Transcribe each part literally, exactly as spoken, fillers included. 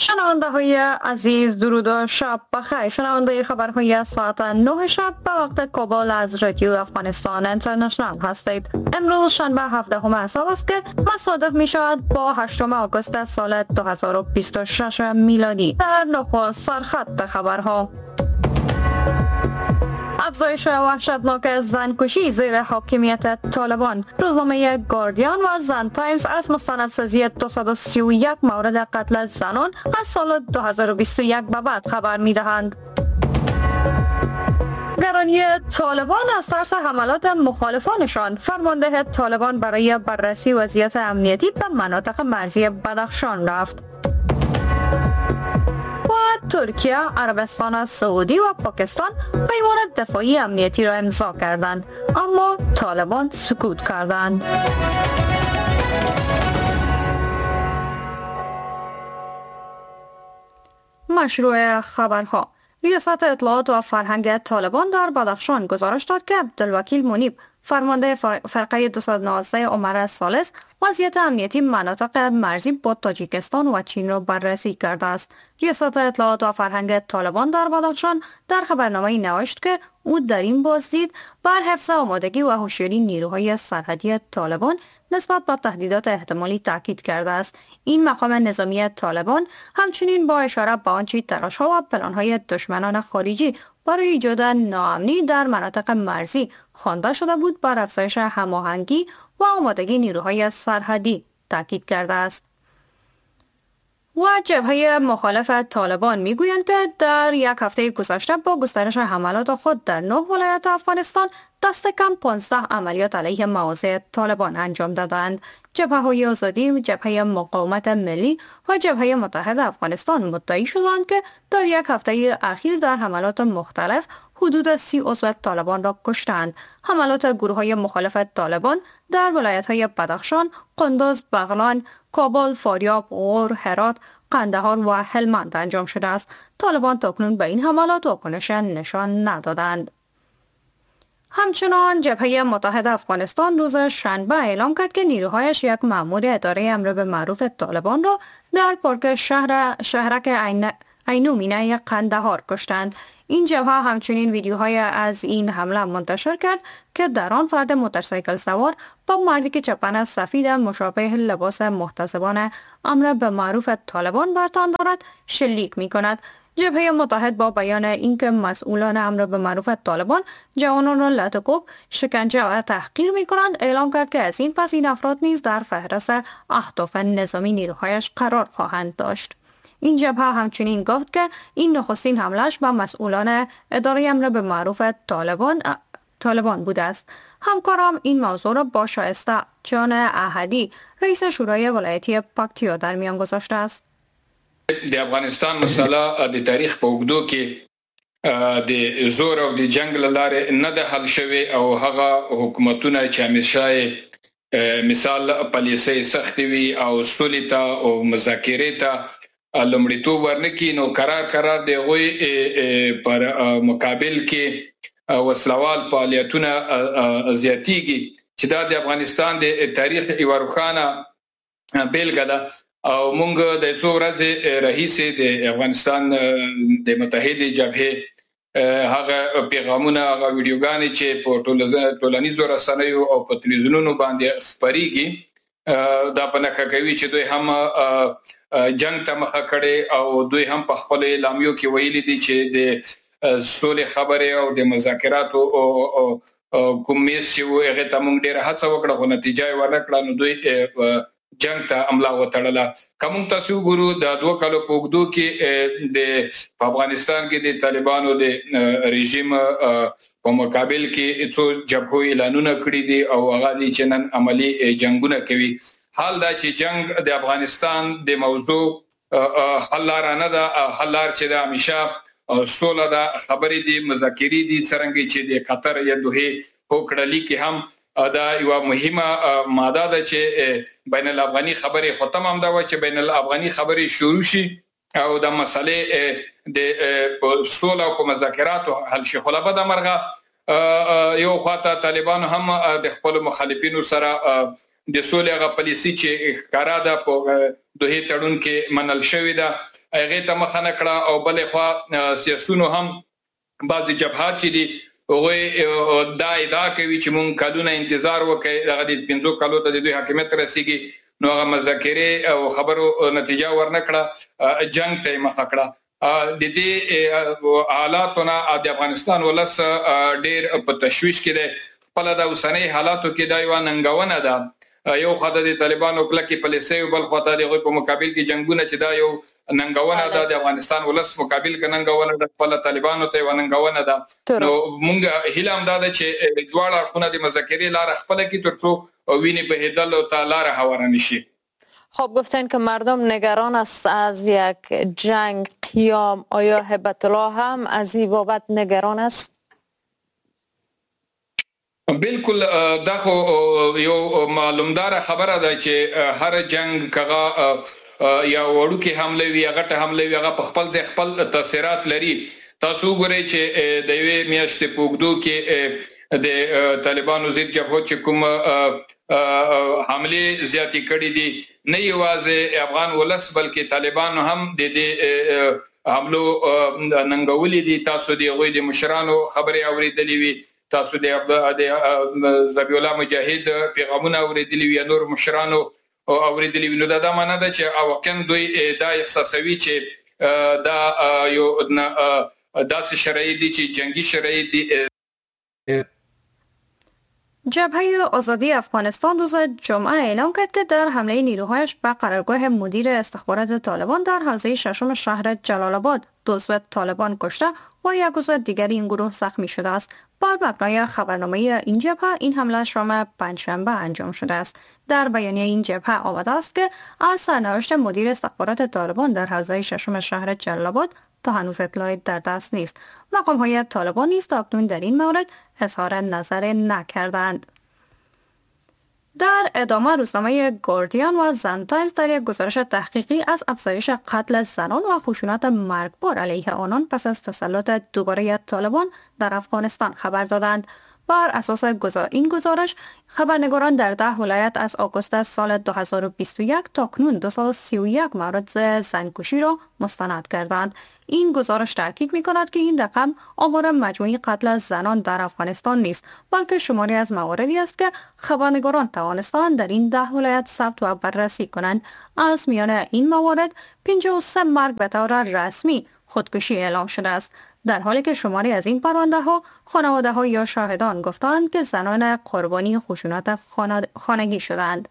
شنونده های عزیز، درود و شب بخیر. شنونده خبرهای ساعت نه شب به وقت کابل از رادیو افغانستان اینترنشنال هستید. امروز شنبه هفدهم آذر است که مصادف می شود با هشتم آگوست سال دو هزار و بیست و شش میلادی. در نخست سرخط خبرها: افزایش وحشتناک زنکشی زیر حاکمیت طالبان. روزنامه گاردین و زن تایمز از مستندسازی دویست و سی و یک مورد قتل زنان از سال دو هزار و بیست و یک به بعد خبر می‌دهند. گرانی طالبان از ترس حملات مخالفانشان، فرمانده طالبان برای بررسی وضعیت امنیتی به مناطق مرزی بدخشان رفت. و ترکیه، عربستان سعودی و پاکستان پیمان دفاعی امنیتی را امضا کردند، اما طالبان سکوت کردند. مشروع خبرها: ریاست اطلاعات و فرهنگ طالبان در بدخشان گزارش داد که عبدالوکیل منیب، فرمانده فرقه دویست و نوزده عمر ثالث، وضعیت امنیتی مناطق مرزی با تاجیکستان و چین را بررسی کرده است. ریاست اطلاعات و فرهنگ طالبان در بدخشان در خبرنامه‌ای نوشت که او در این بازدید بر حفظ آمادگی و هوشیاری نیروهای سرحدی طالبان نسبت به تهدیدات احتمالی تاکید کرده است. این مقام نظامی طالبان همچنین با اشاره به آنچه تلاش‌ها و پلان‌های دشمنان خارجی برای ایجاد ناامنی در مناطق مرزی خوانده شده بود، بر افزایش هماهنگی و آمادگی نیروهای سرحدی تاکید کرده است. و جبهه مخالف طالبان میگویند که در یک هفته گذشته با گسترش حملات خود در نه ولایت افغانستان دست کم پانزده عملیات علیه مواضع طالبان انجام دادند. جبهه های آزادی، جبهه مقاومت ملی و جبهه متحد افغانستان مدعی شدند که در یک هفته اخیر در حملات مختلف حدود سی عضو طالبان را کشتند. حملات گروه های مخالف طالبان در ولایت های بدخشان، قندوز، بغلان، کابل، فاریاب، غور، هرات، قندهار و هلمند انجام شده است. طالبان تاکنون به این حملات واکنش نشان ندادند. همچنان جبهه متحد افغانستان روز شنبه اعلام کرد که نیروهایش یک مأمور اداره امر به معروف طالبان را در پارک شهر شهرک عین عینومینه قندهار کشتند. این جبهه همچنین ویدیوهای از این حمله منتشر کرد که در آن فرد موتورسیکل سوار با مردی که چپن سفید مشابه لباس محتسبان امر به معروف طالبان بر تن دارد شلیک می کند. جبهه متحد با بیان اینکه مسئولان امر به معروف طالبان جوانان را لت و کوب، شکنجه و تحقیر می کنند، اعلام کرد که از این پس این افراد نیز در فهرست اهداف نظامی نیروهایش قرار خواهند داشت. این جبهه همچنین گفت که این نخستین حمله‌اش به مسئولان اداره امر به معروف طالبان طالبان بوده است. همکارم این موضوع را با شایسته جان احدی، رئیس شورای ولایتی پکتیا، در میان گذاشته است. د افغانستان مسله د تاریخ په اوږدو کې د زور او د جنگ له لارې نه ده حل شوې او هغه حکومتونه چې همیشه مثال پالیسۍ سختې وي او سولې ته او مذاکرې ته لومړیتوب ورنکړي، نو قرار قرار د هغوی پر مقابل کې وسلوال فعالیتونه زیاتیږي چې دا د افغانستان د تاریخ یوه روښانه بیلګه ده. او مونږ د څو ورځې راهیسې د افغانستان د متحدې جبهې هغه پیغامونه، هغه ویډیوګانې چې په ټولنیزو رسنیو او په تلویزیونونو باندې خپریږي، دا په نښه کوي چې دوی هم جنگ ته مخه کړې او دوی هم په خپلو اعلامیو کې ویلي دي چې د سولې خبرې او د مذاکراتو کوم میز چې و هغې ته مونږ ډېره هڅه وکړه خو نتیجه یې ورنه کړه، نو دوی جنگ ته املا وتړله. که موږ تاسو وګورو د دوه کالو په اوږدو کې د په افغانستان کې د طالبانو د رژیم په مقابل کې څو جبهو اعلانونه کړي دي او هغه دي چې نن عملي جنگونه کوي. حال دا چې جنگ د افغانستان د موضوع حل لاره نه ده، حل لار چې ده همیشه سوله ده، خبرې دي، مذاکرې دي، څرنګه چې د قطر یا دوحې هوکړه لیک کې هم دا یوه مهمه ماده ده چې بین الافغاني خبرې ختم هم دا وه چې بین الافغاني خبرې شروع شي او د مسئلې د سوله او په مذاکراتو حل شي. خو له بده مرغه یو خواته طالبانو هم د خپلو مخالفینو سره د سولې هغه پالیسي چې ښکاره ده په دوحې تړون کې منل شوې ده هغې ته مخه نه کړه او بلې خوا سیاسیونو هم بعضې جبهات چې دي هغوی دا ادعا کوي چې مونږ کلونه انتظار وکړئ، دغه د پنځو کلو ته د دوی حاکمیت رسیږي، نو هغه مذاکرې او خبرو نتیجه ورنه کړه، جنګ ته یې مخه کړه. د دې حالاتو نه د افغانستان ولس ډېر په تشویش کې دی. خپله د اوسنۍ حالاتو کې دا یوه ننګونه ده. یو خوا ته د طالبانو کلکې پالیسۍ او بل خوا ته د هغوی په مقابل کې جنګونه، چې دا یو ننګونه ده، د افغانستان ولس مقابل کې ننګونه ده، خپله طالبانو ته یوه ننګونه ده. نو مونږ هیله هم دا ده چې دواړه اړخونه د مذاکرې لاره خپله کړي ترڅو وینې بهېدلو ته لاره هواره نه شي. خب گفتن که مردم نگران است از یک جنگ قیام، آیا هبت الله هم از این بابت نگران است؟ بالکل، دا خو یو معلومداره خبره ده چې هر جنگ کغه یا وړوکې حمله وي یا غټه حمله وي، هغه په خپل ځای خپل تاثیرات لري. تاسو وګورئ چې د یوې میاشتې په اوږدو کې د طالبانو ضد جبهو چې کوم حملې زیاتې کړې دي، نه یوازې افغان ولس بلکې طالبانو هم د دې حملو ننګولې دي. تاسو د هغوی د مشرانو خبرې اورېدلې وي، تاسو د ذبیح الله مجاهد پیغامونه اورېدلي وي، یا نور مشرانو اورېدلي وي. نو دا دا معنا ده چې واقعا دوی دا احساسوي چې دا یو داسې شرایط دي چې جنګي شرایط دي. جبهه آزادی افغانستان روز جمعه اعلام کرد که در حمله نیروهایش به قرارگاه مدیر استخبارات طالبان در حوزه ششم شهر جلال آباد دو عضو طالبان کشته و یک عضو دیگر این گروه زخمی شده است. بر مبنای خبرنامه این جبهه، این حمله شام پنجشنبه انجام شده است. در بیانیه این جبهه آمده است که از سرنوشت مدیر استخبارات طالبان در حوزه ششم شهر جلال آباد تا هنوز اطلاعی در دست نیست. مقام‌های طالبان نیز تاکنون در این مورد اظهار نظر نکردند. در ادامه روزنامه گاردین و زن تایمز در یک گزارش تحقیقی از افزایش قتل زنان و خشونت مرگبار علیه آنان پس از تسلط دوباره طالبان در افغانستان خبر دادند. بر اساس این گزارش، خبرنگاران در ده ولایت از آگوست سال دو هزار و بیست و یک تا کنون دویست و سی و یک مورد زنکشی را مستند کردند. این گزارش تاکید می کند که این رقم آمار مجموعی قتل زنان در افغانستان نیست، بلکه شماری از مواردی است که خبرنگاران توانستند در این ده ولایت ثبت و بررسی کنند. از میان این موارد پنجاه و سه مرگ به طور رسمی خودکشی اعلام شده است، در حالی که شماری از این پرونده ها خانواده ها یا شاهدان گفتند که زنان قربانی خشونت خانگی شدند.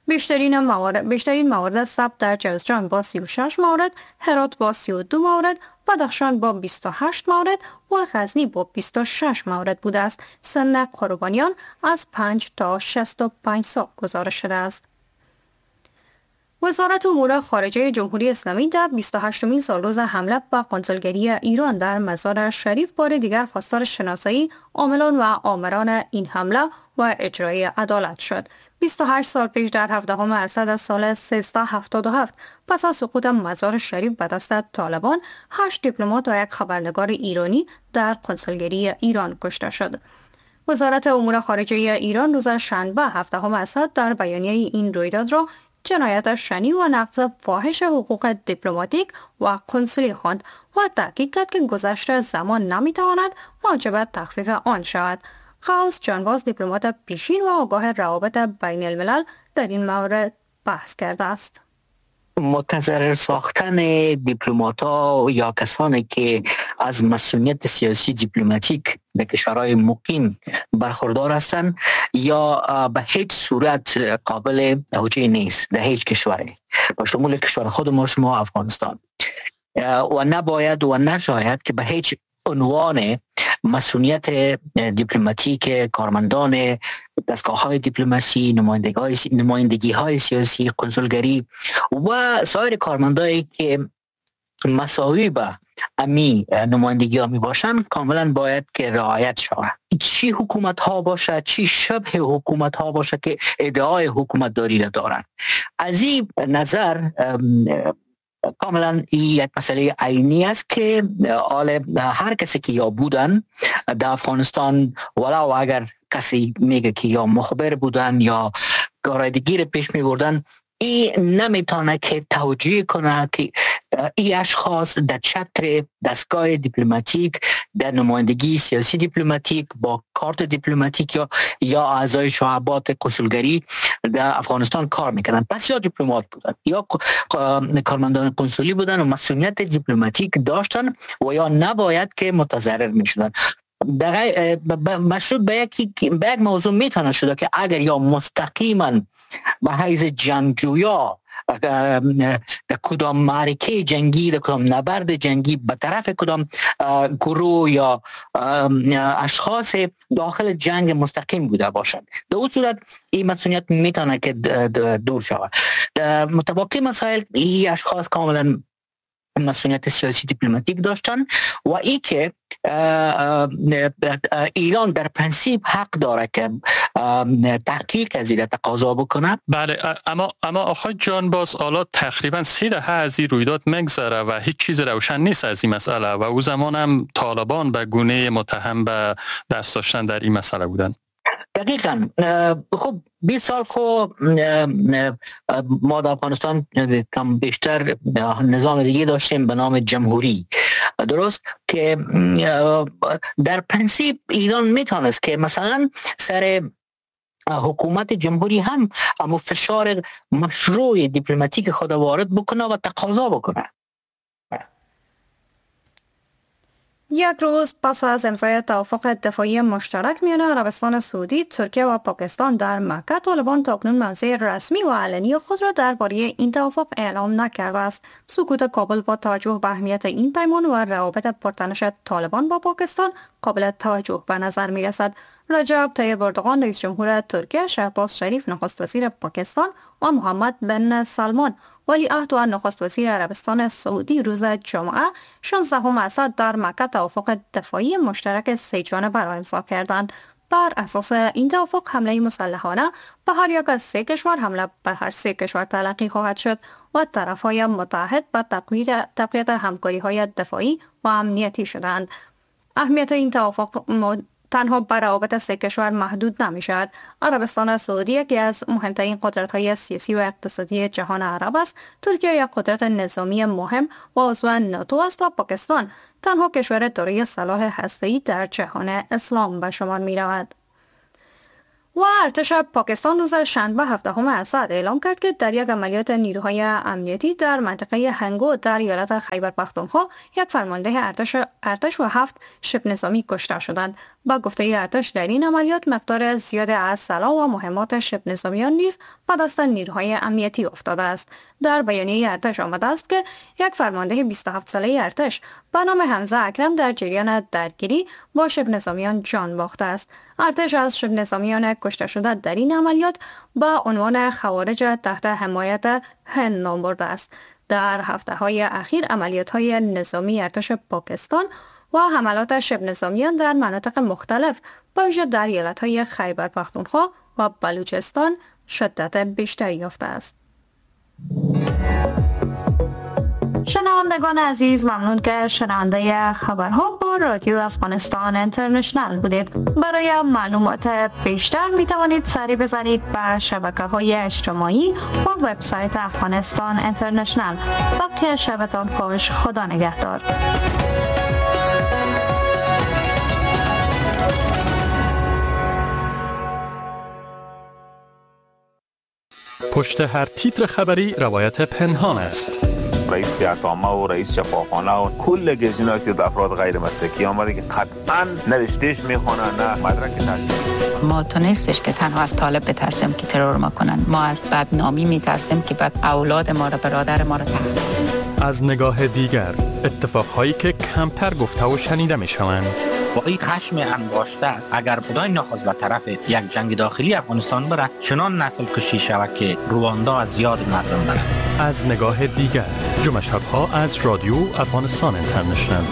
بیشترین موارد بیشترین موارد ثبت در جوزجان با سی و شش مورد، هرات با سی و دو مورد، بدخشان با بیست و هشت مورد و غزنی با بیست و شش مورد بوده است. سن قربانیان از پنج تا شصت و پنج سال گزارش شده است. وزارت امور خارجه جمهوری اسلامی در بیست و هشتمین سالروز حمله به قنسولگری ایران در مزار شریف بار دیگر خواستار شناسایی عاملان و آمران این حمله و اجرای عدالت شد. بیست و هشت سال پیش در هفدهم اسد سال سیزده هفتاد و هفت پس از سقوط مزار شریف به دست طالبان، هشت دیپلمات و یک خبرنگار ایرانی در قنسولگری ایران کشته شد. وزارت امور خارجه ایران روز شنبه هفدهم اسد در بیانیه این رویداد را جنایت شنی و نقض فاحش حقوق دیپلماتیک و کنسولی خواند و تاکید کرد که گذشت زمان نمیتواند موجب تخفیف آن شود. غوث جانباز، دیپلمات پیشین و آگاه روابط بین الملل، در این مورد بحث کرده است. متضرر ساختن دیپلمات‌ها یا کسانی که از مسئولیت سیاسی دیپلماتیک به کشورهای مقیم برخوردار هستند یا به هیچ صورت قابل توجیه نیست در هیچ کشوری، با شمول کشور خود ما شما افغانستان، و نباید و نشاید که به هیچ عنوان مسئولیت دیپلماتیک کارمندان دستگاه‌های دیپلماسی، نمایندگی‌های سیاسی، کنسولگری و سایر کارمندایی که مساوی به امی نمایندگی ها می باشن کاملا باید که رعایت شود. چی حکومت ها باشه، چی شبه حکومت ها باشه که ادعای حکومت داری را دارن. از این نظر کاملا این یک مسئله عینی است که آل هر کسی که یا بودن در افغانستان، ولو اگر کسی میگه که یا مخبر بودن یا کارهای دیگه پیش میبردن، این نمیتونه که توجیه کنه که این اشخاص در چتر دستگاه دیپلماتیک، در نمایندگی سیاسی دیپلماتیک با کارت دیپلماتیک یا یا اعضای شعبات کنسولگری در افغانستان کار میکنن. پس یا دیپلمات بودن یا کارمندان کنسولی بودن و مسئولیت دیپلماتیک داشتن و یا نباید که متضرر میشدن. در مشروط به یک به یک موضوع میتونه شده که اگر یا مستقیما به حیث جنگجویا در کدام معرکه جنگی، در کدام نبرد جنگی به طرف کدام گروه یا اشخاص داخل جنگ مستقیم بوده باشند، در اون صورت این مسئولیت میتونه که دور شود. در متباقی مسائل این اشخاص کاملا مسئولیت سیاسی دیپلماتیک داشتن و ای که ایران در پرنسیپ حق داره که تحقیق از این تقاضا بکنه. بله، اما اما آقای جانباز، حالا تقریبا سه دهه از این رویداد مگذره و هیچ چیز روشن نیست از این مسئله و او زمان هم طالبان به گونه متهم به دست داشتن در این مسئله بودن. دقیقاً. خب بیست سال خب ما در افغانستان کم بیشتر نظام دیگه داشتیم به نام جمهوری، درست، که در پرنسیپ ایران میتونست که مثلا سر حکومت جمهوری هم اما فشار مشروع دیپلماتیک خود وارد بکنه و تقاضا بکنه. یک روز پس از امضای توافق دفاعی مشترک میان عربستان سعودی، ترکیه و پاکستان در مکه، طالبان تاکنون موضع رسمی و علنی خود را درباره این توافق اعلام نکرده است. سکوت کابل با توجه به اهمیت این پیمان و روابط پرتنش طالبان با پاکستان قابل توجه به نظر می رسد. رجب طیب اردوغان رئیس جمهور ترکیه، شهباز شریف نخست وزیر پاکستان و محمد بن سلمان ولی عهد و نخست وزیر عربستان سعودی روز جمعه شانزدهم اسد در مکه توافق دفاعی مشترک سه جانبه را امضا کردند. بر اساس این توافق حمله مسلحانه به هر یک از سه کشور حمله به هر سه کشور تلقی خواهد شد و طرف‌های متعهد به تقویت همکاری‌های دفاعی و امنیتی شدند. اهمیت این توافق تنها بر روابط سه کشور محدود نمی شود. عربستان سعودی یکی از مهمترین قدرت‌های سیاسی و اقتصادی جهان عرب است. ترکیه یک قدرت نظامی مهم و عضو ناتو است و پاکستان تنها کشور دارای سلاح هسته‌ای در جهان اسلام به شمار می رود. و ارتش پاکستان روز شنبه هفدهم اسد اعلام کرد که در یک عملیات نیروهای امنیتی در منطقه هنگو در ایالت خیبر پختونخوا یک فرمانده ارتش ارتش و هفت شبه نظامی کشته شدند. با گفته ارتش در این عملیات مقدار زیاد از سلاح و مهمات شبه نظامیان نیز به دست نیروهای امنیتی افتاده است. در بیانیه ارتش آمده است که یک فرمانده بیست و هفت ساله ارتش به نام حمزه اکرم در جریان درگیری با شبه نظامیان جان باخته است. ارتش از شبه نظامیان کشته شده در این عملیات با عنوان خوارج تحت حمایت هند نام برده است. در هفته های اخیر عملیات های نظامی ارتش پاکستان و حملات شبه نظامیان در مناطق مختلف به ویژه در ایالت های خیبر پختونخوا و بلوچستان شدت بیشتری یافته است. شنوندگان عزیز، ممنون که شنونده خبرها با رادیو افغانستان اینترنشنال بودید. برای معلومات بیشتر می توانید سری بزنید به شبکه های اجتماعی و وبسایت افغانستان اینترنشنال. باقی شبتان خوش، خدا نگهدار. پشت هر تیتر خبری روایت پنهان است. رئیس عطامه و رئیس شفاخانه و کل گزینه‌ای که افراد غیر مسلکی آمده که قطعاً نرشتهش میخوانن نه مدرک تحصیلی. ما تو نیستش که تنها از طالب بترسیم که ترور ما کنن، ما از بدنامی میترسیم که بعد اولاد ما را، برادر ما را تحقیر. از نگاه دیگر، اتفاقهایی که کمتر گفته و شنیده میشوند. با این خشم انباشته اگر خدای نخواست به طرف یک جنگ داخلی افغانستان بره، چنان نسل کشی شود که رواندا از یاد مردم بره. از نگاه دیگر، جمعه شب‌ها از رادیو افغانستان اینترنشنال.